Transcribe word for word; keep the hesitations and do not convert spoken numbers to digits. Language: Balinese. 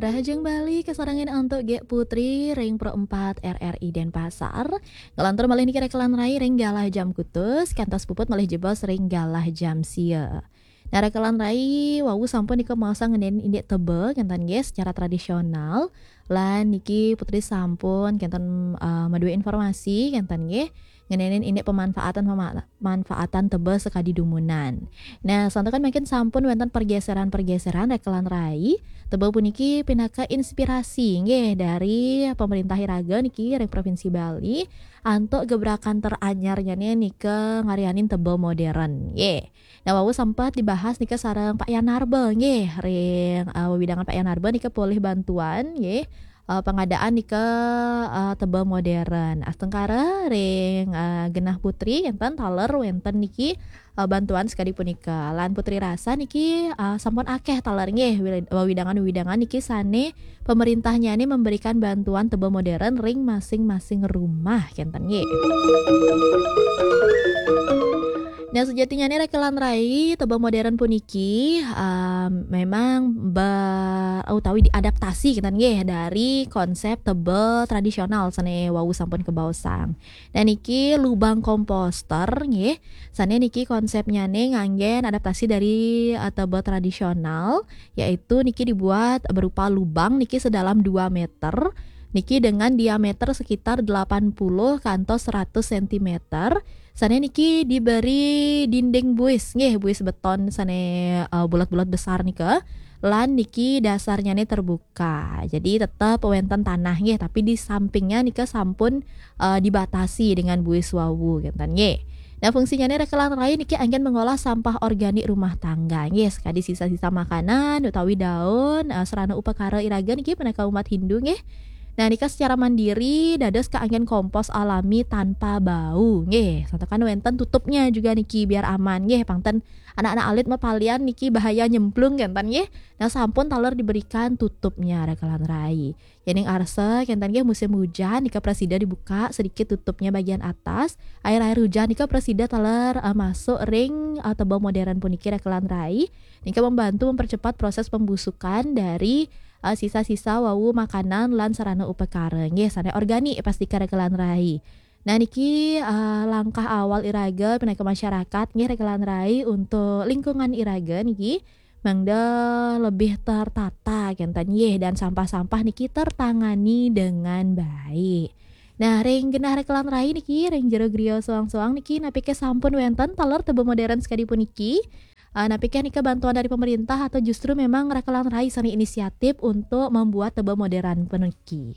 Rahajeng Bali, kasarengan antuk Gék Putri ring Pro empat R R I Denpasar. Ngelantur malih niki rekelan rai ring galah jam kutus, kantos puput malih jebos ring galah jam sia. Nah, rekelan rai wau sampun nika maosang ngeninin indik teba, kenten nggih, secara tradisional. Lan niki Putri sampun kenten, eh, madué informasi, kenten nggih, ngeninin indik pemanfaatan pema-, manfaatan teba sakadi dumunan. Nah, santukan mangkin sampun wénten pergeseran-pergeseran rekelan rai. Teba puniki pinaka inspirasi nggih dari pemerintah iraga niki ring Provinsi Bali antuk gebrakan teranyarnyané nika ngaryanin teba modern nggih. Nah, wau sempat dibahas nika sareng Pak Yanarba nggih, ring, eh, wewidangan Pak Yanarba nika polih bantuan nggih, eh, pengadaan nika, eh, teba modern. Astungkara ring, eh, genah Putri, enten taler wénten niki, eh, bantuan sakadi punika. Lan Putri rasa niki, eh, sampun akéh taler nggih, wil-, wewidangan-wewidangan niki sané pemerintahnyané memberikan bantuan teba modern ring masing-masing rumah, kenten nggih. Nah, sejatinya nih rekelan rai teba modern puniki, um, memang ber-, utawi diadaptasi, kenten nggih, dari konsep teba tradisional sané wau sampun kabaosang. Nah, niki lubang komposter nggih. Sané niki konsepnyané nganggén adaptasi dari, eh, teba tradisional, yaitu niki dibuat berupa lubang niki sedalam dua meter, niki dengan diameter sekitar delapan puluh kantos seratus sentimeter. Sané niki diberi dinding buis nggih, buis beton sané, eh, bulat-bulat besar nika. Lan niki dasarnyané terbuka. Jadi tetep wénten tanah nggih, tapi di sampingnya nika sampun, eh, dibatasi dengan buis wau, kenten nggih. Nah, fungsinyané rekelan rai niki anggén mengolah sampah organik rumah tangga nggih, sakadi sisa-sisa makanan utawi daun, eh, sarana upakara iraga niki pinaka umat Hindu nggih. Nah, nika secara mandiri dados kaanggén kompos alami tanpa bau nggih. Santukan wénten tutupnya juga niki biar aman nggih, pangten anak-anak alit mapalian niki bahaya nyemplung, kenten nggih. Nah, sampun taler diberikan tutupnya rekelan rai. Yéning arsa kenten nggih, musim hujan nika prasida dibuka sedikit tutupnya bagian atas. Air-air hujan nika prasida taler, eh, masuk ring, eh, teba modern puniki rekelan rai. Nika membantu mempercepat proses pembusukan dari, eh, sisa-sisa wau makanan lan sarana upakara nggih, sané organik pastika rekelan rai. Nah, niki, eh, langkah awal iraga pinaka masyarakat nggih rekelan rai untuk lingkungan iraga niki mangda lebih tertata kenten nggih, dan sampah-sampah niki tertangani dengan baik. Nah, ring genah rekelan rai niki, ring jero griya soang-soang niki, napiké sampun wénten taler teba modern sakadi puniki? Eh, napiké nika bantuan dari pemerintah atau justru memang rekelan rai sané inisiatif untuk membuat teba modern puniki?